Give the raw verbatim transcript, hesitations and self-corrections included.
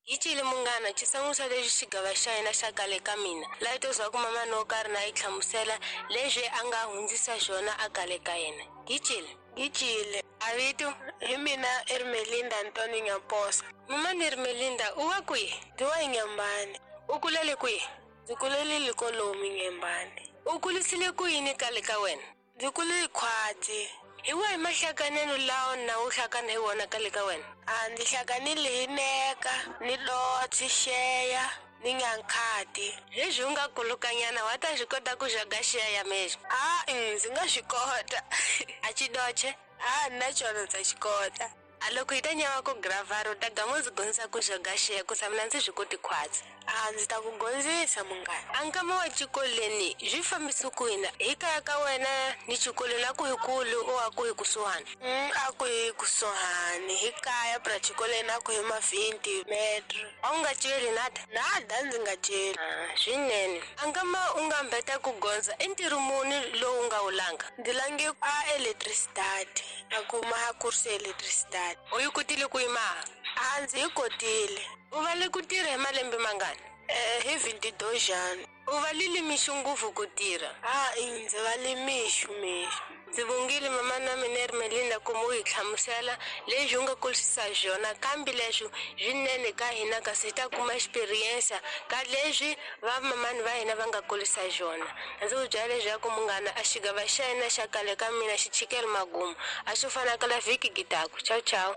Yi cile munghana xisangusa lexi xigava xa hina xa kale ka mina laha to zwa ku mamani wo karhi na yi hlamusela leswi a nga hundzisa xona a kale ka yena. Yi cile. Yi cile. A vito Hi mina Ermelinda Antoni Nyaposa. Mamani Ermelinda u wa kwihi? Ndzi wa Nyambani. U kulele kwihi? Ndzi kulele kolomu Nyambani. U kulisile ku yini kale ka wena? Ndzi kule khwati. Hi wahi mahlakanelo lawa na u hlakana hi wona kale ka wena? A ndzi hlanganile hi neka, ni dotsi, xeya, ni nyankhati. Leswi u nga kulukanyana wa ta swi kota ku xaga xeya ya mexo? A ndzi nga swi kota. A xidoche? A na xona ndza xi kota. A loko hi ta nyama ku gravara u ta gama ndzi gondzisa ku xaga xeya ku sa mina ndzi swi koti khwatsi. A ndzi ta ku gondzisa munghana. A nkama wa xikolweni swi fambisa ku yini? Hi kaya ka wena ni xikolweni a ku hi kulu o a ku hi kusuhani? Mm, a ku hi kusuhani. Hi kaya pra xikolweni a ku hi ma twenty metro. A wu nga celi nada? Nada ndzi nga celi. Ah, swinene. A nkama u nga mbeta ku gondza i ntirho muni lowu nga wu langa? Ndzi lange a electricity. A kuma a course electricity. U yi kotile ku yi maha? A ndzi yi kotile. U vale ku tirha hi malembe mangani? Eh, hi twenty-two. U valile mixo ngopfu ku tirha? A ndzi vale mixo mixo. Ndzi vongile mama na mina Ermelinda ku mu hi hlamusela leswi u nga kulisisa xona kambe leswi swinene ka hina kasi hi ta kuma experience ka leswi va mamani va hina va nga kulisa xona. Ndzi ku byela leswaku munghana a xigava xa hina xa kale ka mina xi chikele magumu a swo fana kala vhiki gitaku. Ciao ciao.